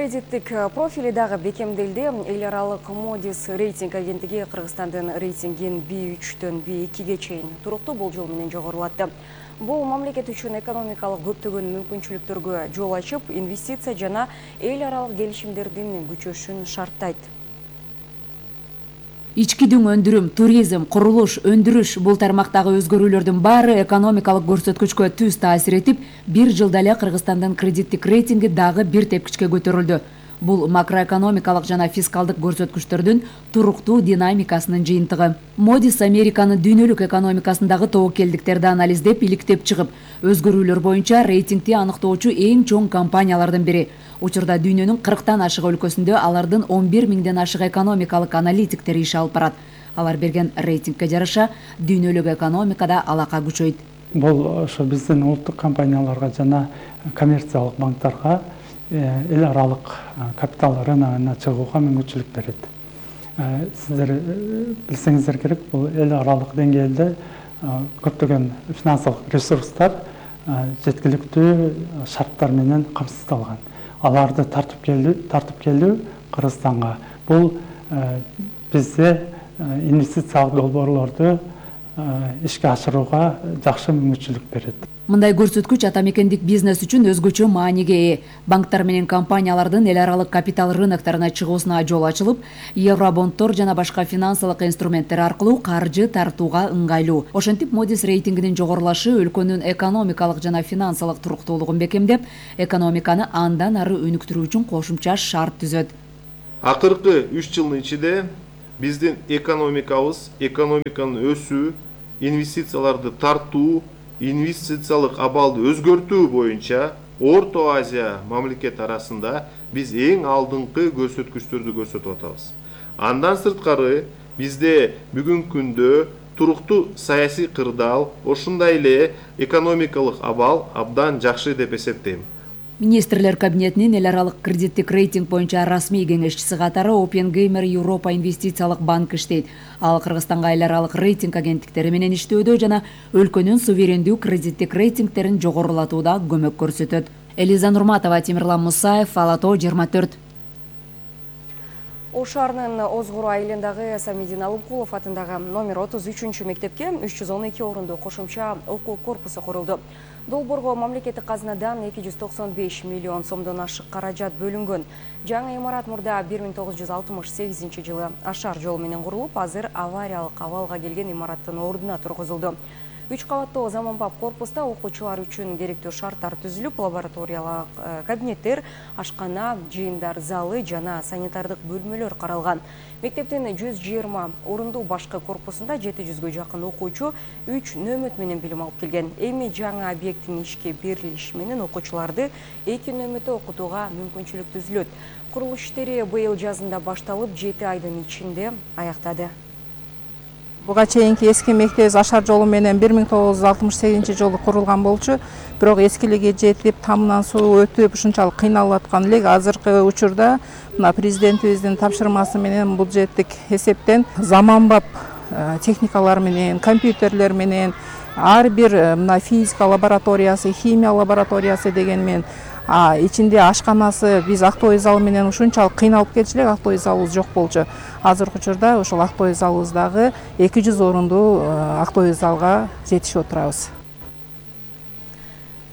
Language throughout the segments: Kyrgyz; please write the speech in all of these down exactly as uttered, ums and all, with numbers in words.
Кредиттик профили дагы бекемделди. Эл аралык Moody's рейтинг агенттиги Кыргызстандын рейтингин би үчтөн би экиге чейин туруктуу болжол менен жогорулатты. Бул мамлекет үчүн экономикалык көптөгөн мүмкүнчүлүктөргө жол ачып, инвестиция жана эл аралык келишимдердин күчөшүн шарттайт. Ички дүң өндүрүм, туризм, курулуш, өндүрүш бул тармактагы өзгөрүүлөрдүн баары экономикалык көрсөткүчкө түз таасир этип, бир жылда эле Кыргызстандын кредиттик рейтинги дагы бир тепкичке көтөрүлдү. Бул макроэкономикалык жана фискалдык көрсөткүчтөрдүн туруктуу динамикасынын жыйынтыгы. Moody's Американын дүйнөлүк экономикасындагы тобокелдиктерди анализдеп, иликтеп чыгып, өзгөрүүлөр боюнча рейтингти аныктоочу эң чоң компаниялардын бири. Учурда дүйнөнүн кырктан ашык өлкөсүндө алардын он бир миңден ашык экономикалык аналитиктер иш алып барат. Алар берген рейтингке жараша дүйнөлүк экономикада алака күчөйт. Бул ошо биздин улуттук компанияларга жана коммерциялык банктарга эл аралык капитал рыногуна чыгууга мүмкүнчүлүк берет. Сиздер билсеңиздер керек, бул эл аралык деңгээлде көптөгөн финансылык ресурстар жеткиликтүү шарттар менен камсыздалган. Аларды тартып келүү, тартып келүү Кыргызстанга бул бизде инвестициялык долбоорлорду ишке ашырууга жакшы мүмкүнчүлүк берет. Мындай көрсөткүч ата мекендик бизнес үчүн өзгөчө мааниге ээ. Банктар менен компаниялардын эл аралык капитал рыноктарына чыгуусуна жол ачылып, евробонддор жана башка финансылык инструменттер аркылуу каржы тартууга ыңгайлуу. Ошентип Moody's рейтингинин жогорулашы өлкөнүн экономикалык жана финансылык туруктуулугун бекемдеп, экономиканы андан ары өнүктүрүү үчүн кошумча шарт түзөт. Акыркы үч жылдын ичинде биздин экономикабыз, экономиканын өсүү, инвестицияларды тартуу, инвестициялык абалды өзгөртүү боюнча Орто Азия мамлекет арасында биз эң алдыңкы көрсөткүчтөрдү көрсөтүп атабыз. Андан сырткары бизде бүгүнкү күндө туруктуу саясий кырдаал, ошондой эле экономикалык абал абдан жакшы деп эсептейм. Министрлер кабинетинин эл аралык кредиттик рейтинг боюнча расмий кеңешчиси катары Опенгеймер Европа инвестициялык банк иштейт. Ал Кыргызстанга эл аралык рейтинг агенттиктери менен иштөөдө жана өлкөнүн суверендүү кредиттик рейтингтерин жогорулатууда көмөк көрсөтөт. Элиза Нурматова, Темирлан Мусаев, Ала тоо жыйырма төрт. Ош шаарынын Озгур айылындагы Самидин Алымкулов атындагы номер отуз үчүнчү мектепке үч жүз он эки орунду кошумча окуу корпусу курулду. Долбоорго мамлекеттик казынадан эки жүз токсон беш миллион сомдон ашык каражат бөлүнгөн. Жаңы имарат мурда бир миң тогуз жүз алтымыш сегизинчи жылы ашар жол менен курулуп, азыр авариялык абалга келген имараттын ордуна тургузулду. Үч кабаттуу заманбап корпуста окуучулар үчүн керектүү шарттар түзүлүп, лабораториялык кабинеттер, ашкана, жыйындар залы жана санитардык бөлмөлөр каралган. Мектептин жүз жыйырма орундуу башкы корпусунда жети жүзгө жакын окуучу үч нөмөт менен билим алып келген. Эми жаңы объекттин ишке берилиши менен окуучуларды эки нөмөтө окутууга мүмкүнчүлүк түзүлөт. Курулуш иштери быйыл жазында башталып, жети айдын ичинде аяктады. Буга чейинки эски мектебибиз ашар жолу менен бир миң тогуз жүз алтымыш сегизинчи жылы курулган болчу, бирок эскилиги жетип, тамынан суу өтүп, ушунчалык кыйналып аткан элек. Азыркы учурда мына президентибиздин тапшырмасы менен бюджеттик эсептен заманбап техникалар менен, компьютерлер менен, ар бир мына физика лабораториясы, химия лабораториясы деген менен ичинде ашканасы, биз актовый зал менен ушунчалык кыйналып келчү элек, актовый залыбыз жок болчу. Азыркы учурда ошол актовый залыбыздагы эки жүз орундуу актовый залга жетишип отурабыз.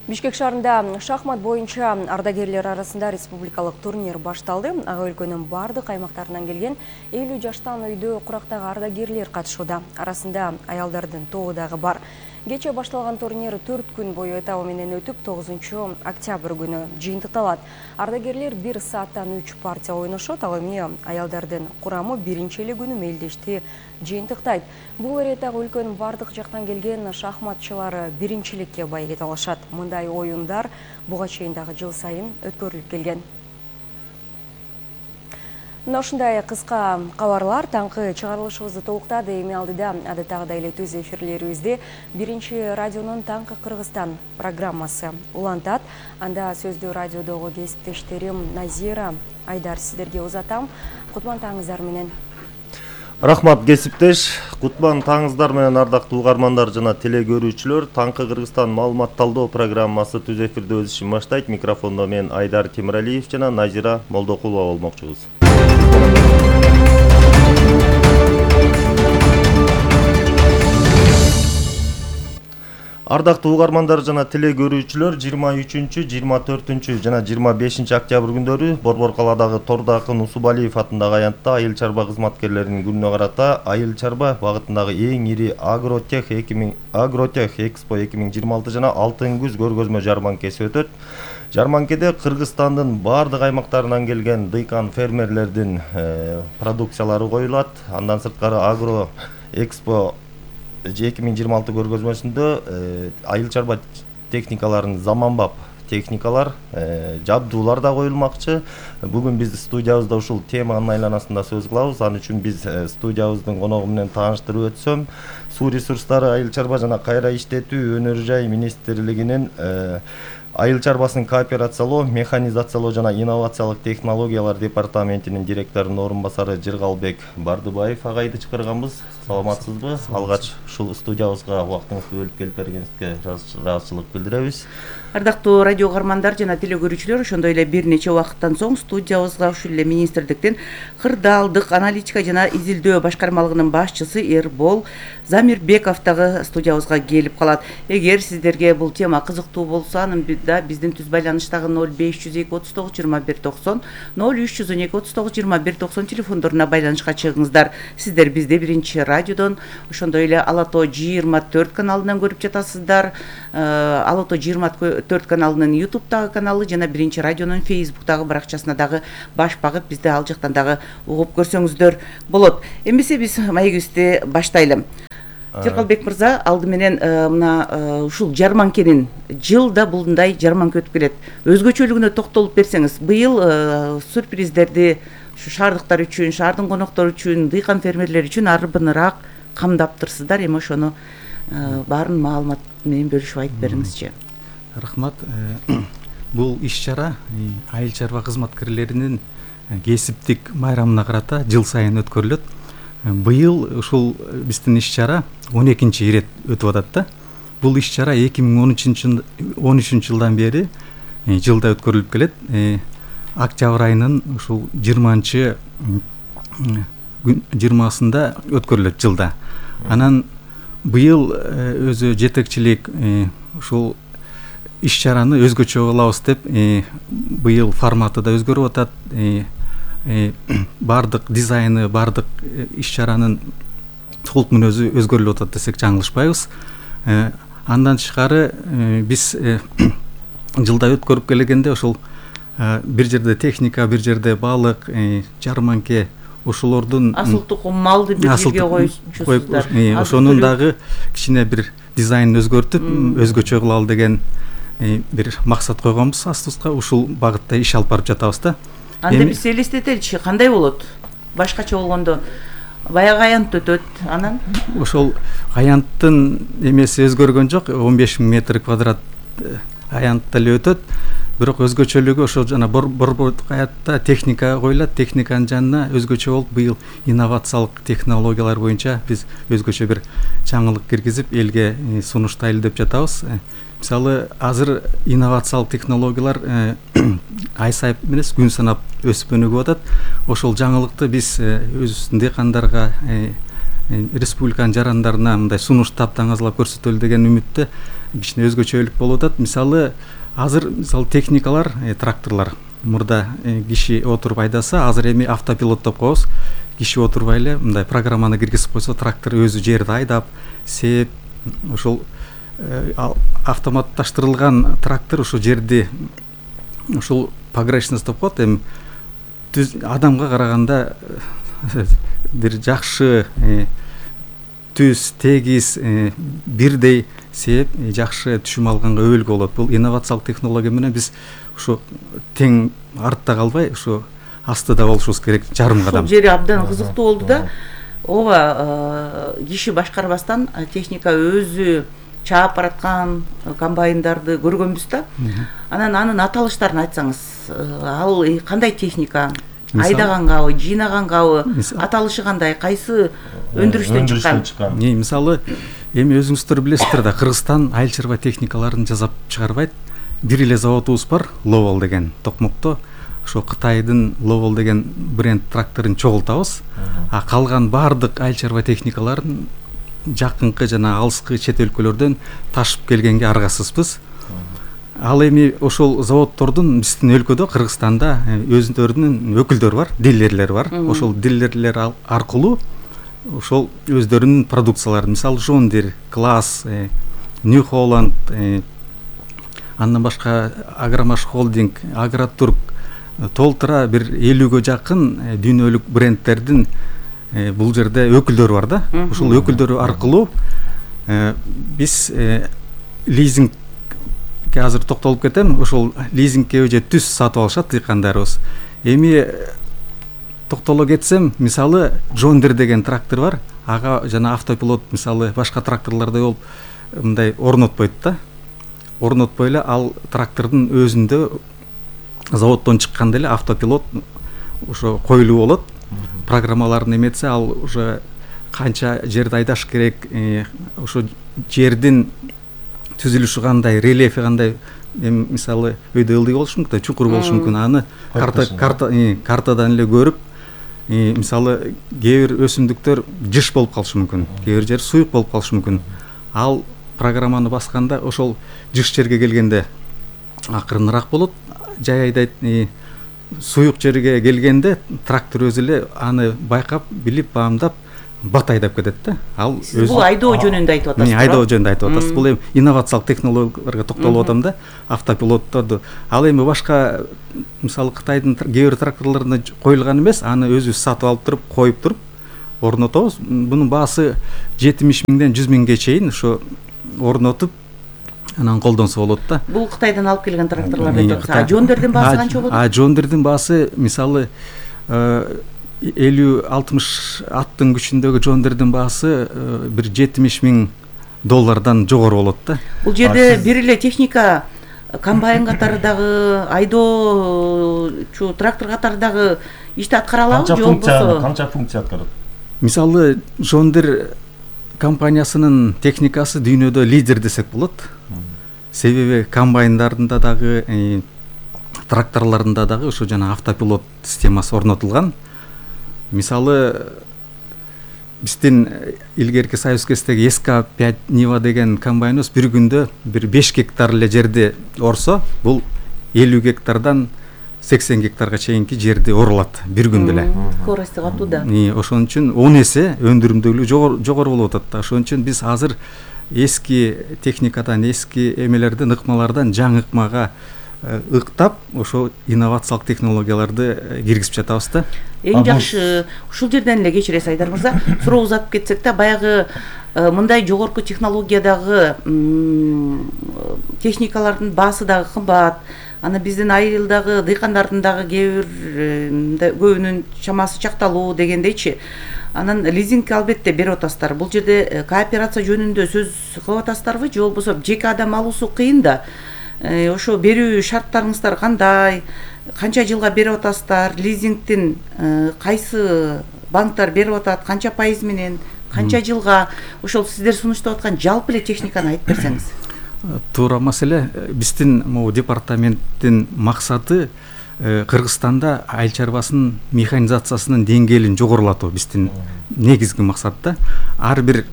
Бишкек шаарында шахмат боюнча ардагерлер арасында республикалык турнир башталды. Ага өлкөнүн бардык аймактарынан келген элүү жаштан өйдө курактагы ардагерлер катышууда. Арасында аялдардын тобу дагы бар. Кече башталган турнир төрт күн бою этабы менен өтүп, тогузунчу октябрь күнү жыйынтыкталат. Ардагерлер бир сааттан үч партия ойношот, ал эми аялдардын курамы биринчи эле күнү мелдешти жыйынтыктайт. Бул эретагы өлкөнүн бардык жактан келген шахматчылары биринчиликке байгете алышат. Мындай оюндар буга чейин дагы жыл сайын өткөрүлүп келген. Мына ушундай кыска кабарлар таңкы чыгарылышыбызды толуктады. Эми алдыда адаттагыдай эле түз эфирлерибизде биринчи радионун Таңкы Кыргызстан программасы улантат. Анда сөздүү радиодогу кесиптештерим Назира Айдар сиздерге узатам. Кутман таңыңыздар менен. Рахмат кесиптеш. Кутман таңыздар менен ардактуу угармандар жана теле көрүүчүлөр. Таңкы Кыргызстан маалымат талдоо программасы түз эфирде өз ишин баштайт. Микрофондо мен Айдар Темиралиев жана Назира Молдокулова болмокчубуз. Ардактуу угармандар жана теле көрүүчүлөр, жыйырма үчүнчү, жыйырма төртүнчү жана жыйырма бешинчи октябрь күндөрү Борбор калаадагы Тордо акын Усубалиев атындагы аянтта айыл чарба кызматкерлеринин күнүнө карата айыл чарба багытындагы эң ири Агротех эки миң Агротех Экспо эки миң жыйырма алты жана Алтын күз көргөзмө жарманкеси өтөт. Жарманкеде Кыргызстандын бардык аймактарынан келген дыйкан фермерлердин продукциялары коюлат. Андан сырткары Агро Экспо эки миң жыйырма алты көргөзмөсүндө айыл чарба техникаларын заманбап техникалар, жабдуулар да коюлмакчы. Бүгүн биз студиябызда ушул теманын айланасында сөз кылабыз. Ал үчүн биз студиябыздын коногу менен тааныштырып өтсөм, суу ресурстары, айыл чарба жана кайра иштетүү өнөр жай министрлигинин айыл чарбасын кооперациялоо, механизациялоо жана инновациялык технологиялар департаментинин директорунун орун басары Жыргалбек Бардыбаев агайды чакырганбыз. Саламатсызбы? Алгач ушул студиябызга убактыңызды бөлүп келип бергениңизге ыраазычылык билдиребиз. Ардактуу радио угармандар жана теле көрүүчүлөр, ошондой эле бир нече убакыттан соң студиябызга ушул эле министрликтин кырдаалдык аналитика жана изилдөө башкармалыгынын башчысы Эрбол Замирбеков дагы студиябызга келип калат. Эгер сиздерге бул тема кызыктуу болсо, анын да биздин түз байланыштагы ноль беш жүз эки отуз тогуз жыйырма бир токсон, ноль үч жүз он эки отуз тогуз жыйырма бир токсон телефондоруна байланышка чыгыңыздар. Сиздер бизди биринчи радиодон, ошондой эле Ала Тоо жыйырма төрт каналынан көрүп жатасыздар. Ала Тоо жыйырма төрт каналынын ютубтагы каналы жана биринчи радионун фейсбуктагы баракчасына дагы баш багып, бизди ал жактан дагы угуп көрсөңүздөр болот. Эмесе биз маегибизди баштайлы. Жыргалбек мырза, алды менен мына ушул жарманкенин жылда булундай жарманка өтүп келет. Өзгөчөлүгүнө токтолуп берсеңиз, быйыл сюрприздерди ушу шаардыктар үчүн, шаардын коноктору үчүн, дыйкан фермерлер үчүн арбыныраак камдаптырсыздар. Эми ошону баарын маалымат менен бөлүшүп айтып бериңизчи. Рахмат. Бул иш-чара айыл чарба кызматкерлеринин кесиптик майрамына карата жыл сайын өткөрүлөт. Быйыл ушул биздин иш-чара он экинчи ирет өтүп атат да. Бул иш-чара эки миң он үчүнчү жылдан бери жылда өткөрүлүп келет. Октябрь айынын ушул жыйырманчы жыйырмасында өткөрүлөт жылда. Анан быйыл өзү жетекчилик ушул иш-чараны өзгөчө кылабыз деп, быйыл форматы да өзгөрүп атат. Бардык дизайны, бардык иш-чаранын толук мүнөзү өзгөрүлүп атат десек жаңылышпайбыз. Андан тышкары биз жылда өткөрүп келгенде ошол бир жерде техника, бир жерде балык, жарманке, ошолордун асыл тукум малды бир жерге коюпсуздар. Ошонун дагы кичине бир дизайнын өзгөртүп, өзгөчө кылалы деген бир максат койгонбуз астыбызга. Ушул багытта иш алып барып жатабыз да. Анда биз элестетеличи, кандай болот? Башкача болгондо баягы аянт өтөт, анан ошол аянттын эмеси өзгөргөн жок. он беш миң метр квадрат аянтта эле өтөт. Бирок өзгөчөлүгү ошол жана борбордук аянтта техника коюлат. Техниканын жанына өзгөчө болуп быйыл инновациялык технологиялар боюнча биз өзгөчө бир жаңылык киргизип элге сунуштайлы деп жатабыз. Мисалы, азыр инновациялык технологиялар ай сайып эмес, күн санап өсүп өнүгүп атат. Ошол жаңылыкты биз өзүбүздүн дыйкандарга, республиканын жарандарына мындай сунуштап таңазалап көрсөтөлү деген үмүттө кичине өзгөчөлүк болуп атат. Мисалы, азыр мисалы техникалар, тракторлор мурда киши отуруп айдаса, азыр эми автопилот деп коебуз. Киши отурбай эле мындай программаны киргизип койсо, трактор өзү жерди айдап, сээп, ошол автоматташтырылган трактор ошо жерди ушул погрешность деп коет. Эми адамга караганда бир жакшы түз, тегиз, бирдей сээп, жакшы түшүм алганга өбөлгө болот. Бул инновациялык технология менен биз ушу тең артта калбай, ушу астыда болушубуз керек, жарым кадам. Ушул жери абдан кызыктуу болду да. Ооба, киши башкарбастан техника өзү чаап бараткан комбайндарды көргөнбүз да. Анан анын аталыштарын айтсаңыз, ал кандай техника? айдаганбы, жыйнаганбы, аталышы кандай, кайсы өндүрүштөн чыккан? Мисалы эми өзүңүздөр билесиздер да, Кыргызстан айыл чарба техникаларын жасап чыгарбайт. Бир эле заводубуз бар, Ловол деген Токмокто. Ошо Кытайдын Ловол деген бренд тракторун чогултабыз. А калган баардык айыл чарба техникаларын жакынкы жана алыскы чет өлкөлөрдөн ташып келгенге аргасызбыз. Ал эми ошол заводдордун биздин өлкөдө, Кыргызстанда өзүнүн өкүлдөрү бар, дилерлер бар. Ошол дилерлер аркылуу ошол өздөрүнүн продукцияларын, мисалы John Deere, Claas, New Holland, андан башка Агромаш холдинг, Агротурк толтура бир элүүгө жакын дүйнөлүк брендтердин бул жерде өкүлдөрү бар да. Ошол өкүлдөрү аркылуу биз лизингке азыр токтолуп кетем. Ошол лизингке же түз сатып алышат дыйкандарыбыз. Эми токтоло кетсем, мисалы John Deere деген трактор бар. Ага жана автопилот мисалы башка тракторлордой болуп мындай орнотпойт да. Орнотпой эле ал трактордун өзүндө заводдон чыкканда эле автопилот ошо коюлуу болот. Программаларын эметсе, ал уже канча жерди айдаш керек, ошо жердин түзүлүшү кандай, рельефи кандай, мисалы өйдө ылдый болушу мүмкүн, чукур болушу мүмкүн. Аны карта карта картадан эле көрүп, мисалы кээ бир өсүмдүктөр жыш болуп калышы мүмкүн, кээ бир жер суюк болуп калышы мүмкүн. Ал программаны басканда ошол жыш жерге келгенде акырыныраак болот. Жай айдайт, суюк жерге келгенде трактор өзү эле аны байкап, билип, баамдап, бат айдап кетет да. Ал өзү бул айдоо жөнүндө айтып атасыз. Мен айдоо жөнүндө айтып атасыз. Бул эми инновациялык технологияларга токтолуп атам да, автопилотторду. Ал эми башка мисалы Кытайдын кээ бир тракторлорунда коюлган эмес, аны өзүбүз сатып алып туруп, коюп туруп орнотобуз. Бунун баасы жетимиш миңден жүз миңге чейин ошо орнотуп анан колдонсо болот да. Бул Кытайдан алып келген тракторлорду айтып атасыз. А John Deere'дин баасы канча болот? А John Deere'дин баасы мисалы элүү алтымыш аттын күчүндөгү John Deere'дин баасы бир жетимиш миң доллардан жогору болот да. Бул жерде бир эле техника, комбайн катары дагы, айдоочу трактор катары дагы ишти аткара алабы же болбосо? Канча функция аткарат? Мисалы John Deere компаниясынын техникасы дүйнөдө лидер десек болот. Себеби комбайндарында дагы, тракторлорунда дагы ошо жана автопилот системасы орнотулган. Мисалы биздин илгерки Союз кездеги эс ка пять Нива деген комбайныбыз бир күндө бир беш гектар эле жерди орсо, бул элүү гектардан сексен гектарга чейинки жерди орулат бир күндө эле. Скорости катуу да. Ошон үчүн он эсе өндүрүмдүүлүгү жогору болуп атат да. Ошон үчүн биз азыр эски техникадан, эски эмелерден, ыкмалардан жаңы ыкмага ыктап, ошо инновациялык технологияларды киргизип жатабыз да. Эң жакшы ушул жерден эле кечиресиз Айдар мырза, суроо узатып кетсек да, баягы мындай жогорку технологиядагы техникалардын баасы дагы кымбат. Аны биздин айылдагы дыйкандардын дагы кээ бир көбүнүн чамасы чакталуу дегендейчи. Анан лизингке албетте берип атасыздар. Бул жерде кооперация жөнүндө сөз кылып атасыздарбы же болбосо жеке адам алуусу кыйын да. Ошо берүү шарттарыңыздар кандай? Канча жылга берип атасыздар? Лизингдин кайсы банктар берип атат? Канча пайыз менен? Канча жылга? Ошол сиздер сунуштап аткан жалпы эле техниканы айтып берсеңиз. Туура маселе. Биздин могу департаменттин максаты Кыргызстанда айыл чарбасынын механизациясынын деңгээлин жогорулатуу биздин негизги максат да. Ар бир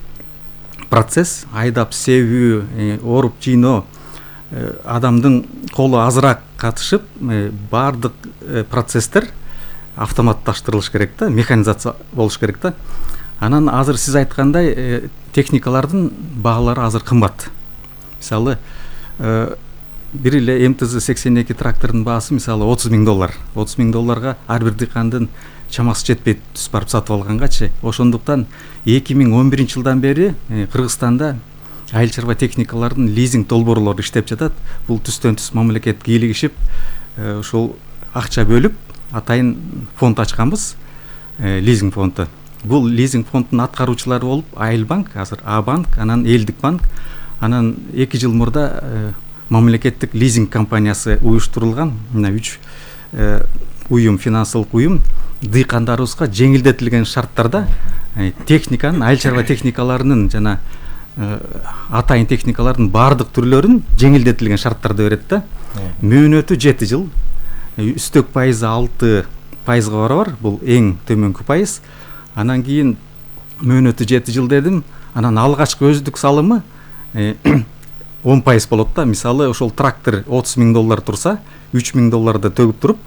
процесс, айдап себүү, оруп жыйноо, адамдын колу азыраак катышып, баардык процесстер автоматташтырылыш керек да, механизация болуш керек да. Анан азыр сиз айткандай техникалардын баалары азыр кымбат. Мисалы бир эле эм тэ зэ сексен эки трактордун баасы мисалы отуз миң доллар. отуз миң долларга ар бир дыйкандын чамасы жетпейт түз барып сатып алгангачы. Ошондуктан эки миң он биринчи жылдан бери Кыргызстанда айыл чарба техникалардын лизинг долбоорлору иштеп жатат. Бул түстөн түз мамлекет кийлигишип, ошол акча бөлүп, атайын фонд ачканбыз, лизинг фонду. Бул лизинг фонддун аткаруучулары болуп Айылбанк, азыр А банк, анан Элдик банк, анан эки жыл мурда мамлекеттик лизинг компаниясы уюштурулган. Мына үч уюм, финансылык уюм дыйкандарыбызга жеңилдетилген шарттарда техниканын, айыл чарба техникаларынын жана атайын техникалардын баардык түрлөрүн жеңилдетилген шарттарда берет да. Мөөнөтү жети жыл, үстөк пайызы алты пайызга барабар, бул эң төмөнкү пайыз. Анан кийин мөөнөтү жети жыл дедим, анан алгачкы өздүк салымы он пайыз болот да. Мисалы ошол трактор отуз миң доллар турса, үч миң долларды төгүп туруп,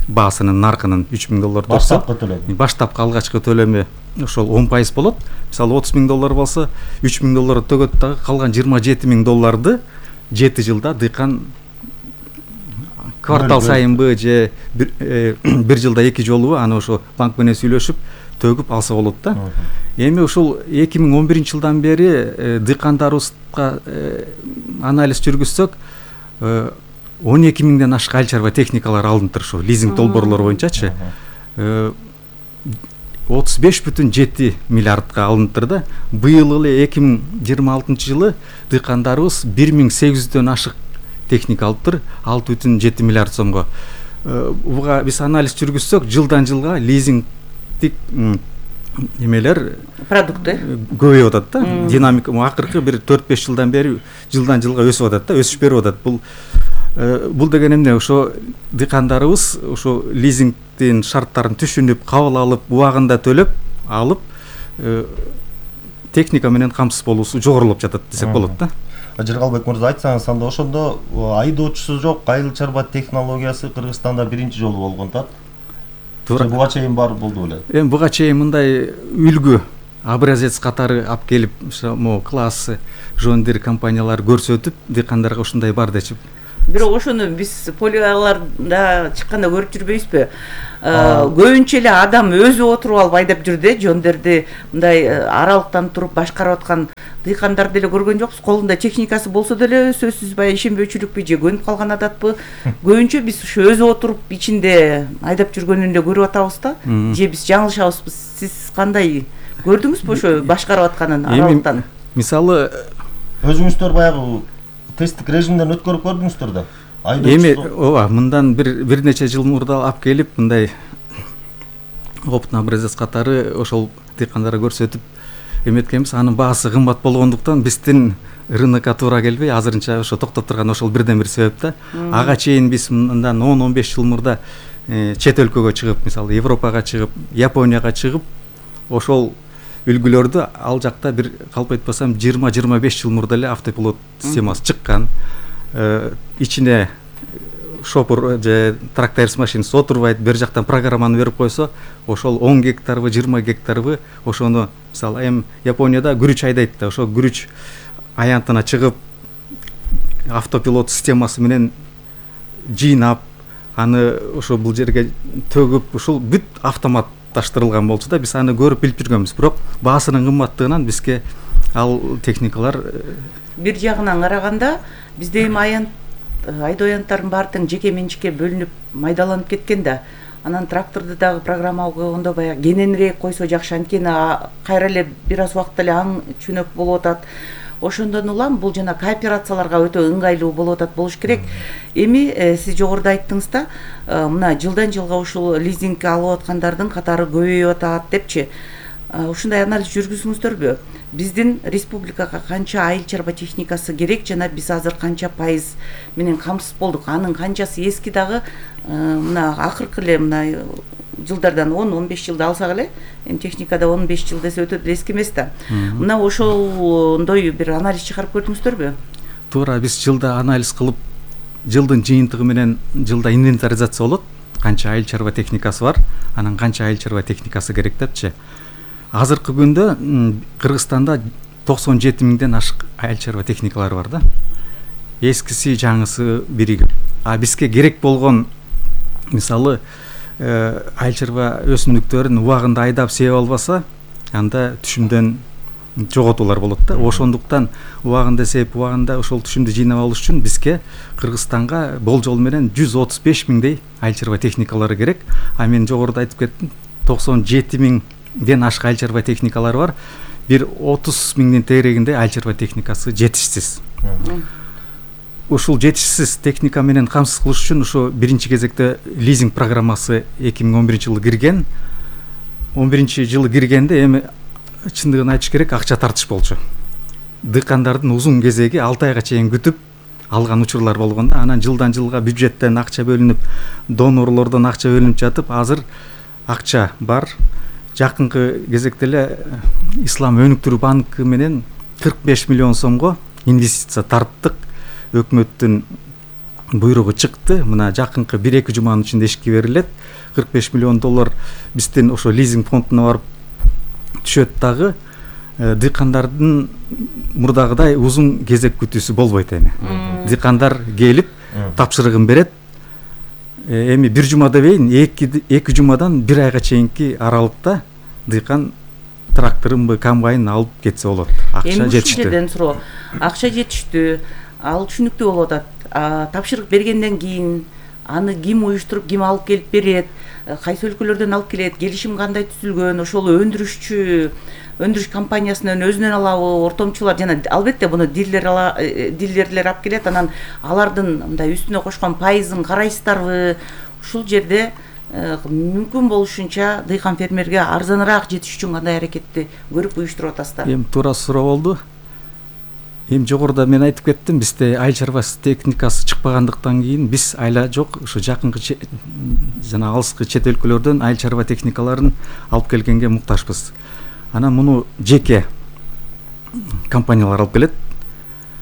баасынын наркынын үч миң доллар турса, баштапкы алгачкы төлөмү ошол он пайыз болот. Мисалы отуз миң доллар болсо, үч миң доллар төгөт дагы, калган жыйырма жети миң долларды жети жылда дыйкан квартал сайынбы же бир жылда эки жолубу аны ошо банк менен сүйлөшүп төгүп алса болот да. Эми ушул эки миң он биринчи жылдан бери дыйкандарыбызга анализ жүргүзсөк, он эки миңден ашык айыл чарба техникалар алынып турушу, лизинг долбоорлор боюнчачы отуз беш бүтүн жети миллиардка алынып да. Быйыл эле эки миң жыйырма алтынчы жылы дыйкандарыбыз бир миң сегиз жүздөн ашык техника алыптыр, алты бүтүн жети миллиард сомго. Буга биз анализ жүргүзсөк, жылдан жылга лизингдик эмелер продукты көбөйүп атат да. Динамика акыркы бир төрт беш жылдан бери жылдан жылга өсүп атат да, өсүш берип атат. Бул бул деген эмне? Ошо дыйкандарыбыз ошо лизингдин шарттарын түшүнүп, кабыл алып, убагында төлөп алып, техника менен камсыз болуусу жогорулуп жатат десек болот да. Жыргалбек мырза, айтсаңыз, анда ошондо айдоочусу жок айыл чарба технологиясы Кыргызстанда биринчи жолу болгон да. Туура. Буга чейин бар болду беле? Эми буга чейин мындай үлгү образец катары алып келип, могу классы жондир компаниялар көрсөтүп, дыйкандарга ушундай бар дечип. Бирок ошону биз полияларда чыкканда көрүп жүрбөйбүзбү? Көбүнчө эле адам өзү отуруп алып айдап жүрдү, жондерди мындай аралыктан туруп башкарып аткан дыйкандарды эле көргөн жокпуз. Колунда техникасы болсо деле сөзсүз баягы ишенбөөчүлүкпү же көнүп калган адатпы? Көбүнчө биз ушу өзү отуруп ичинде айдап жүргөнүн эле көрүп атабыз да. Же биз жаңылышабызбы? Сиз кандай көрдүңүзбү ошо башкарып атканын аралыктан? Мисалы, өзүңүздөр баягы тесттик режимден өткөрүп көрдүңүздөр да. Эми ооба, мындан бир бир нече жыл мурда алып келип, мындай опытный образец катары ошол дыйкандарга көрсөтүп эметкенбиз. Анын баасы кымбат болгондуктан биздин рынокко туура келбей, азырынча ошо токтоп турган ошол бирден бир себеп да. Ага чейин биз мындан он он беш жыл мурда чет өлкөгө чыгып, мисалы Европага чыгып, Японияга чыгып, ошол үлгүлөрдү ал жакта бир калп айтпасам жыйырма жыйырма беш жыл мурда эле автопилот системасы чыккан. Ичине шопур же тракторист машинасы отурбайт, бер жактан программаны берип койсо, ошол он гектарбы, жыйырма гектарбы ошону, мисалы, эми Японияда күрүч айдайт да, ошо күрүч аянтына чыгып, автопилот системасы менен жыйнап, аны ошо бул жерге төгүп, ушул бүт автоматташтырылган болчу да. Биз аны көрүп билип жүргөнбүз, бирок баасынын кымбаттыгынан бизге ал техникалар бир жагынан караганда бизде эми аянт айдоо аянттардын баары тең жеке менчикке бөлүнүп майдаланып кеткен да. Анан тракторду дагы программа койгондо баягы кененирээк койсо жакшы, анткени кайра эле бир аз убакытта эле аң чөнөк болуп атат. Ошондон улам бул жана кооперацияларга өтө ыңгайлуу болуп атат, болуш керек. Эми сиз жогоруда айттыңыз да, мына жылдан жылга ушул лизингге алып аткандардын катары көбөйүп атат депчи. Ушундай анализ жүргүзүңүздөрбү? Биздин республикага канча айыл чарба техникасы керек жана биз азыр канча пайыз менен камсыз болдук? Анын канчасы эски дагы мына акыркы эле мына жылдардан он он беш жылды алсак эле, эми техникада он беш жыл десе өтө эски эмес да. Мына ошондой бир анализ чыгарып көрдүңүздөрбү? Туура, биз жылда анализ кылып, жылдын жыйынтыгы менен жылда инвентаризация болот. Канча айыл чарба техникасы бар, анан канча айыл чарба техникасы керек депчи. Азыркы күндө Кыргызстанда токсон жети миңден ашык айыл чарба техникалар бар да. Эскиси, жаңысы биригип. А бизге керек болгон, мисалы, айыл чарба өсүмдүктөрүн убагында айдап себеп албаса, анда түшүмдөн жоготуулар болот да. Ошондуктан убагында себеп, убагында ошол түшүмдү жыйнап алыш үчүн бизге Кыргызстанга болжол менен жүз отуз беш миңдей айыл чарба техникалары керек. А мен жогоруда айтып кеттим, токсон жети миңден ашык айыл чарба техникалары бар. Бир отуз миңдин тегерегинде айыл чарба техникасы жетишсиз. ушул жетишсиз техника менен камсыз кылыш үчүн ошо биринчи кезекте лизинг программасы эки миң он биринчи жылы кирген. он биринчи жылы киргенде эми чындыгын айтыш керек, акча тартыш болчу. Дыйкандардын узун кезеги алты айга чейин күтүп алган учурлар болгон да. Анан жылдан жылга бюджеттен акча бөлүнүп, донорлордон акча бөлүнүп жатып, азыр акча бар. Жакынкы кезекте эле Ислам өнүктүрүү банкы менен кырк беш миллион сомго инвестиция тарттык. Өкмөттүн буйругу чыкты. Мына жакынкы бир эки жуманын ичинде ишке берилет. кырк беш миллион доллар биздин ошо лизинг фондуна барып түшөт дагы. Дыйкандардын мурдагыдай узун кезек күтүүсү болбойт эми. Дыйкандар келип тапшырыгын берет. Эми бир жума дебейин, эки жумадан бир айга чейинки аралыкта дыйкан тракторунбу, комбайнын алып кетсе болот. Акча жетиштүү. Эми ушул жерден суроо. Акча жетиштүү, ал түшүнүктүү болуп атат. Тапшырык бергенден кийин аны ким уюштуруп, ким алып келип берет, кайсы өлкөлөрдөн алып келет, келишим кандай түзүлгөн, ошол өндүрүшчү, өндүрүш компаниясынан өзүнөн алабы, ортомчулар жана албетте буну дилер ала, дилерлер алып келет, анан алардын мындай үстүнө кошкон пайызын карайсыздарбы? Ушул жерде мүмкүн болушунча дыйкан фермерге арзаныраак жетиш үчүн кандай аракетти көрүп уюштуруп атасыздар? Эми туура суроо болду. Эми жогоруда мен айтып кеттим, бизде айыл чарбасы техникасы чыкпагандыктан кийин биз айла жок, ушу жакынкы жана алыскы чет өлкөлөрдөн айыл чарба техникаларын алып келгенге муктажбыз. Анан муну жеке компаниялар алып келет.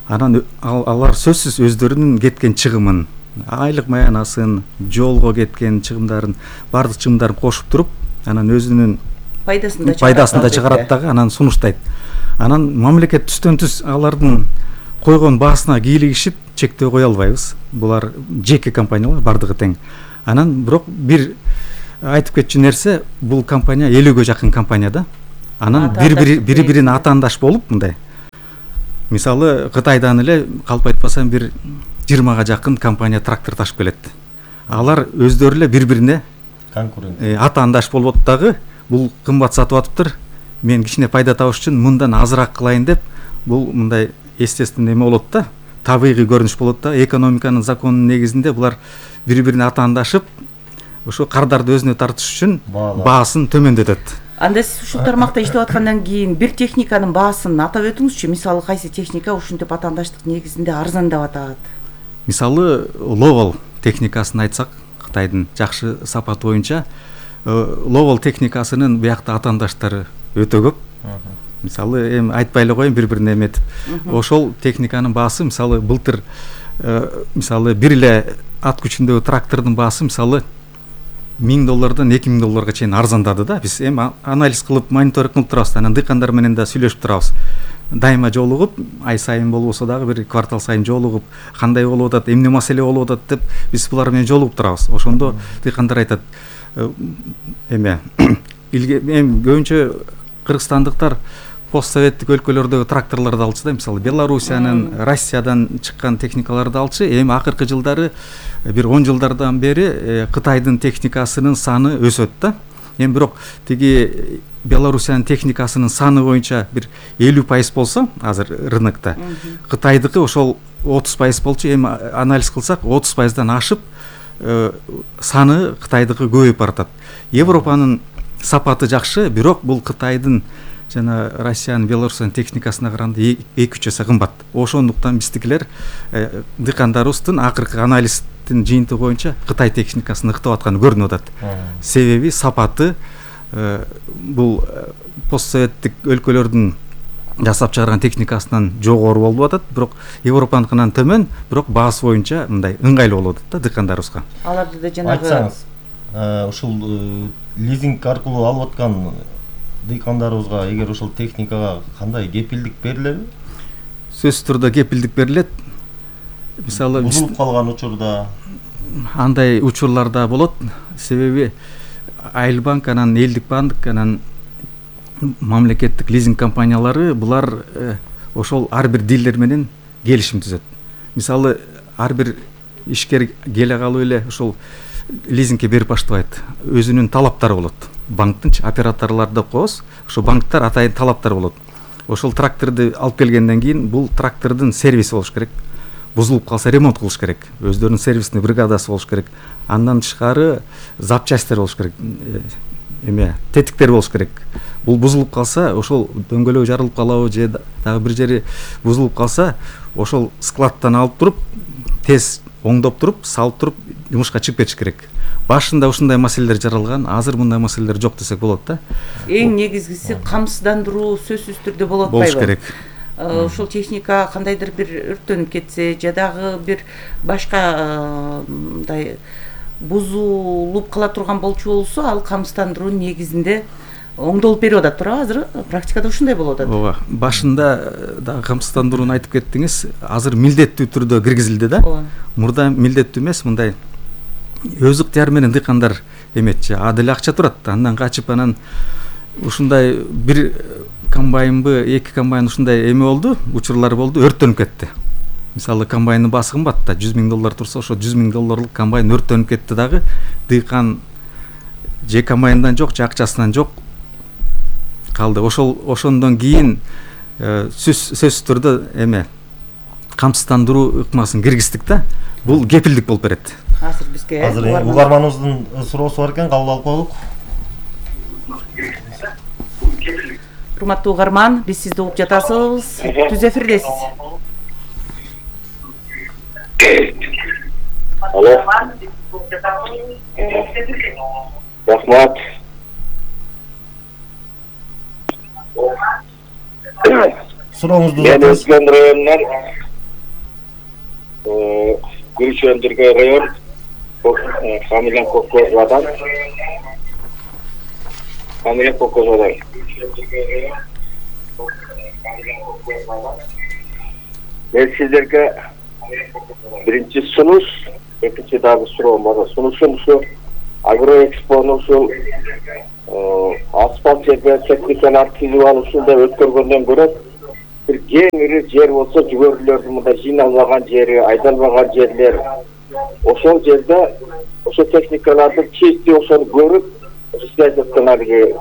Анан алар сөзсүз өздөрүнүн кеткен чыгымын, айлык маянасын, жолго кеткен чыгымдарын, бардык чыгымдарын кошуп туруп, анан өзүнүн пайдасын да чыгарат дагы, анан сунуштайт. Анан мамлекет түстөн түз алардын койгон баасына кийлигишип чектөө кое албайбыз. Булар жеке компаниялар, бардыгы тең. Анан бирок бир айтып кетчү нерсе, бул компания элүүгө жакын компания да. Анан бири-бирин атаандаш болуп мындай. Мисалы Кытайдан эле калп айтпасам бир жыйырмага жакын компания трактор ташып келет. Алар өздөрү эле бири-бирине конкурент, атаандаш болуп дагы, бул кымбат сатып атыптыр. Мен кичине пайда табыш үчүн мындан азыраак кылайын деп, бул мындай естественный эме болот да, табигый көрүнүш болот да. Экономиканын законунун негизинде булар бири-бирине атаандашып, ошо кардарды өзүнө тартыш үчүн баасын төмөндөтөт. Анда сиз ушул тармакта иштеп аткандан кийин бир техниканын баасын атап өтүңүзчү. Мисалы кайсы техника ушинтип атаандаштык негизинде арзандап атат? Мисалы Ловол техникасын айтсак, Кытайдын жакшы сапаты боюнча Ловол техникасынын биякта атаандаштары өтө көп. Мисалы эми айтпай эле коеюн, бири-бирине эметип. Ошол техниканын баасы мисалы былтыр мисалы бир эле ат күчүндөгү трактордун баасы мисалы миң доллардан эки миң долларга чейин арзандады да. Биз эми анализ кылып, мониторинг кылып турабыз. Анан дыйкандар менен да сүйлөшүп турабыз. Дайыма жолугуп, ай сайын болбосо дагы бир квартал сайын жолугуп, кандай болуп атат, эмне маселе болуп атат деп биз булар менен жолугуп турабыз. Ошондо дыйкандар айтат, эме эми көбүнчө кыргызстандыктар постсоветтик өлкөлөрдөгү тракторлорду алчу да, мисалы Белоруссиянын, Россиядан чыккан техникаларды алчу. Эми акыркы жылдары бир он жылдардан бери Кытайдын техникасынын саны өсөт да. Эми бирок тиги Белоруссиянын техникасынын саны боюнча бир элүү пайыз болсо азыр рынокто, Кытайдыкы ошол отуз пайыз болчу. Эми анализ кылсак отуз пайыздан ашып саны Кытайдыкы көбөйүп баратат. Европанын сапаты жакшы, бирок бул Кытайдын жана Россиянын, Белоруссиянын техникасына караганда эки үч эсе кымбат. Ошондуктан биздикилер дыйкандарыбыздын акыркы анализдин жыйынтыгы боюнча Кытай техникасын ыктап атканы көрүнүп атат. Себеби сапаты бул постсоветтик өлкөлөрдүн жасап чыгарган техникасынан жогору болуп атат, бирок Европаныкынан төмөн, бирок баасы боюнча мындай ыңгайлуу болуп атат да дыйкандарыбызга. Аларды да жанагы айтсаңыз, ушул лизинг аркылуу алып аткан дыйкандарыбызга эгер ошол техникага кандай кепилдик берилеби? Сөзсүз түрдө кепилдик берилет. Мисалы бузулуп калган учурда андай учурлар да болот. Себеби Айыл банк, анан Элдик банк, анан мамлекеттик лизинг компаниялары булар ошол ар бир дилер менен келишим түзөт. Мисалы ар бир ишкер келе калып эле ошол лизингке берип баштабайт. Өзүнүн талаптары болот. Банктын операторлорду коебуз, ошо банктар атайын талаптар болот. Ошол тракторду алып келгенден кийин бул трактордун сервиси болуш керек. бузулуп калса ремонт кылыш керек, өздөрүнүн сервисный бригадасы болуш керек. Андан тышкары запчасттер болуш керек, эме тетиктер болуш керек. Бул бузулуп калса, ошол дөңгөлөгү жарылып калабы же дагы бир жери бузулуп калса, ошол складтан алып туруп, тез оңдоп туруп, салып туруп жумушка чыгып кетиш керек. Башында ушундай маселелер жаралган, азыр мындай маселелер жок десек болот да. Эң негизгиси камсыздандыруу сөзсүз түрдө болот атпайбы? Болуш керек. Ушул техника кандайдыр бир өрттөнүп кетсе, же дагы бир башка мындай бузулуп кала турган болчу болсо, ал камсыздандыруу негизинде оңдолуп берип атат, туурабы? Азыр практикада ушундай болуп атат. Ооба, башында дагы камсыздандырууну айтып кеттиңиз. Азыр милдеттүү түрдө киргизилди да. Мурда милдеттүү эмес, мындай өз ыктыяры менен дыйкандар эметчи, а деле акча турат. Андан качып, анан ушундай бир комбайнбы, эки комбайн ушундай эме болду, учурлар болду, өрттөнүп кетти. Мисалы, комбайндын баасы кымбат да, жүз миң доллар турса, ошо жүз миң долларлык комбайн өрттөнүп кетти дагы. Дыйкан же комбайндан жок, же акчасынан жок калды. Ошол ошондон кийин сөзсүз түрдө эме камсыздандыруу ыкмасын киргиздик да. Бул кепилдик болуп берет. Азыр бизге азыр угарманыбыздын суроосу бар экен, кабыл алып коелук. Урматтуу угарман, биз сизди угуп жатасыз. Түз эфирдесиз. Алло. Рахмат. Сурооңузду Мен Өзгөн районунан Күрүч өндүргө район фамилиям Кокозадан. Фамилиям Кокозадан. Мен сиздерге биринчи сунуш, экинчи дагы суроом бар. Сунушум ушу Агроэкспону ушул асфальт жерге техникалар кирип алышында өткөргөндөн көрө бир кең ири жер болсо, жүгөрүлөрдүн мындай жыйналбаган жери, айдалбаган жерлер, ошол жерде ошо техникаларды чисти ошону көрүп, связь алиги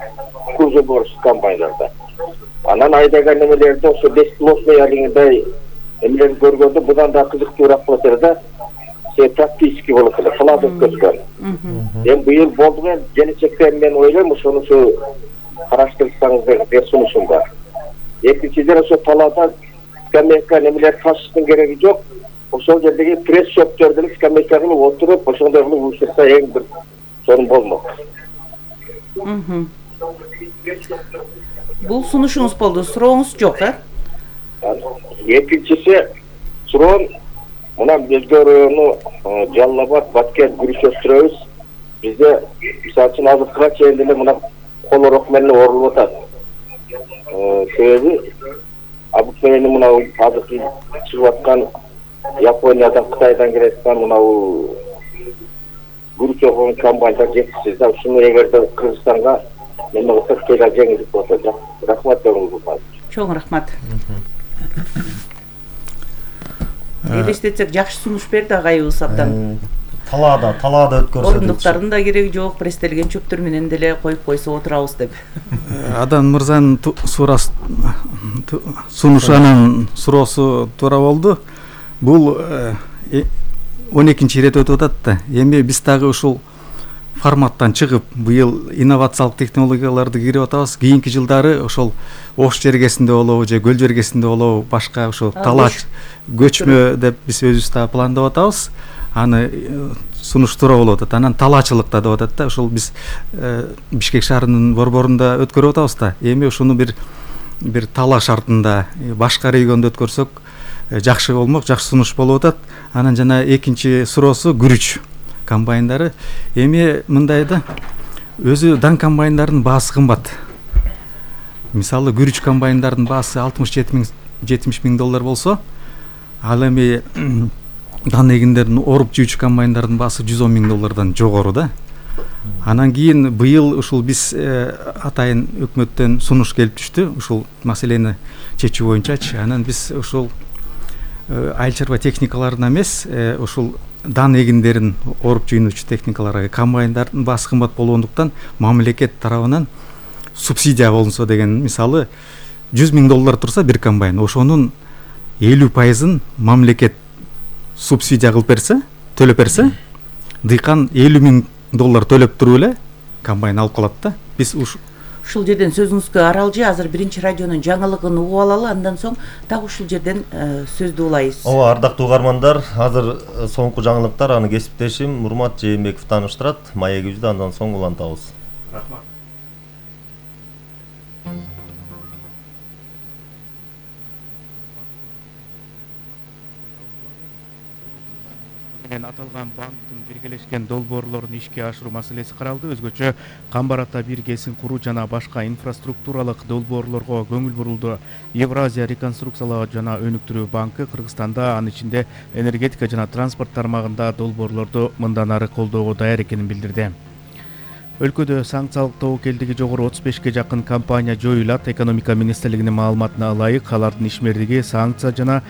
кузов бар комбайндарда. Анан айдаган немелерди ошо бесплотный алигиндей эмелерди көргөндө будан да кызыктуураак болот эле да. Се практически болот эле, план өткөзгөн. Эми быйыл болду, мен келечекте мен ойлойм, ошону караштырсаңыз деген сунушум бар. Экинчиден ошо талаада скамейка немелер ташыштын кереги жок. Ошол жердеги пресс шоптөрдөн скамейка кылып отуруп, ошондой кылып учурса эң бир сонун болмок. Бул сунушуңуз болду, сурооңуз жок, э? Экинчиси суроом, мына Өзгө району Жалал Абад, Баткен, Күрүч өстүрөбүз. Бизде мисалы үчүн азыркыга чейин деле мына колорок менен орулуп атат. Себеби обыкновенный мына азыркы чыгып аткан Япониядан, Кытайдан келаткан мына күрүч окуган комбайндар жетишсиз да. Ушуну эгерде Кыргызстанга неме кылсак тегер жеңилдик болот. Рахмат бериңиз. Чоң рахмат. Элестетсек, жакшы сунуш берди агайыбыз абдан. Талаада, талаада өткөрсө. Орундуктардын да кереги жок, пресстелген чөптөр менен деле коюп койсо отурабыз деп. Адан мырзанын суроосу сунушу анан суроосу туура болду. Бул он экинчи ирет өтүп атат да. Эми биз дагы ушул форматтан чыгып, быйыл инновациялык технологияларды кирип атабыз. Кийинки жылдары ошол Ош жергесинде болобу же көл жергесинде болобу, башка ошо талаач көчмө деп биз өзүбүз да пландап атабыз. Аны сунуш туура болуп атат. Анан талаачылыкта деп атат да. Ошол биз Бишкек шаарынын борборунда өткөрүп атабыз да. Эми ушуну бир бир талаа шартында башка региондо өткөрсөк жакшы болмок, жакшы сунуш болуп атат. Анан жана экинчи суроосу күрүч комбайндары. Эми мындай да, өзү дан комбайндардын баасы кымбат. Мисалы, күрүч комбайндардын баасы алтымыш жетимиш миң доллар болсо, ал эми дан эгиндердин оруп жүүчү комбайндардын баасы жүз он миң доллардан жогору да. Анан кийин быйыл ушул биз атайын өкмөттөн сунуш келип түштү, ушул маселени чечүү боюнчачы. Анан биз ушул айыл чарба техникаларына эмес, ушул дан эгиндерин оруп жыйнуучу техникаларга комбайндардын баасы кымбат болгондуктан мамлекет тарабынан субсидия болунсо деген, мисалы жүз миң доллар турса бир комбайн, ошонун элүү пайызын мамлекет субсидия кылып берсе, төлөп берсе, дыйкан элүү миң доллар төлөп туруп эле комбайн алып калат да. Биз уш ушул жерден сөзүңүзгө аралжы азыр биринчи радионун жаңылыгын угуп алалы, андан соң дагы ушул жерден сөздү улайбыз. Ооба, ардактуу угармандар, азыр соңку жаңылыктар аны кесиптешим Мурмат Жээнбеков тааныштырат. Маегибизди андан соң улантабыз. Рахмат. Аталган банктын биргелешкен долбоорлорун ишке ашыруу маселеси каралды. Өзгөчө Камбар ата бир кесин куруу жана башка инфраструктуралык долбоорлорго көңүл бурулду. Евразия реконструкциялоо жана өнүктүрүү банкы Кыргызстанда, анын ичинде энергетика жана транспорт тармагында долбоорлорду мындан ары колдоого даяр экенин билдирди. Өлкөдө санкциялык тобокелдиги жогору отуз бешке жакын компания жоюлат. Экономика министрлигинин маалыматына ылайык, алардын ишмердиги санкция жана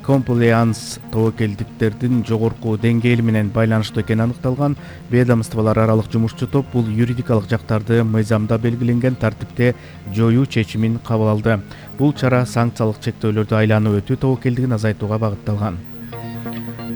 комплаенс тобокелдиктердин жогорку деңгээли менен байланыштуу экени аныкталган. Ведомстволор аралык жумушчу топ бул юридикалык жактарды мыйзамда белгиленген тартипте жоюу чечимин кабыл алды. Бул чара санкциялык чектөөлөрдү айланып өтүү тобокелдигин азайтууга багытталган.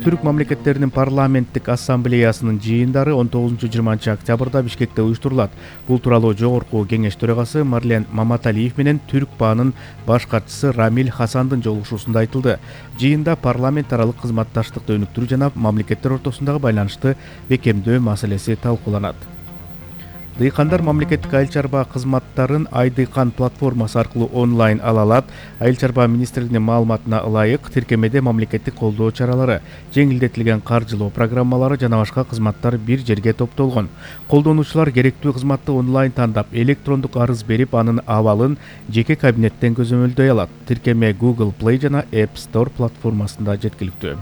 Түрк мамлекеттеринин парламенттик ассамблеясынын жыйындары он тогузунчу жыйырманчы октябрда Бишкекте уюштурулат. Бул тууралуу жогорку кеңеш төрагасы Марлен Маматалиев менен Түрк баанын баш катчысы Рамиль Хасандын жолугушуусунда айтылды. Жыйында парламент аралык кызматташтыкты өнүктүрүү жана мамлекеттер ортосундагы байланышты бекемдөө маселеси талкууланат. Дыйкандар мамлекеттик айыл чарба кызматтарын Ай Дыйкан платформасы аркылуу онлайн ала алат. Айыл чарба министрлигинин маалыматына ылайык, тиркемеде мамлекеттик колдоо чаралары, жеңилдетилген каржылоо программалары жана башка кызматтар бир жерге топтолгон. Колдонуучулар керектүү кызматты онлайн тандап, электрондук арыз берип, анын абалын жеке кабинеттен көзөмөлдөй алат. Тиркеме Google Play жана App Store платформасында жеткиликтүү.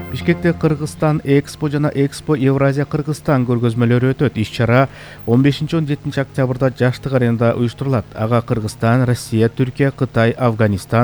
Бишкекте Кыргызстан Экспо жана Экспо Евразия Кыргызстан көргөзмөлөрү өтөт. Иш-чара он бешинчи он жетинчи октябрда Жаштык аренада уюштурулат. Ага Кыргызстан, Россия, Түркия, Кытай, Афганистан,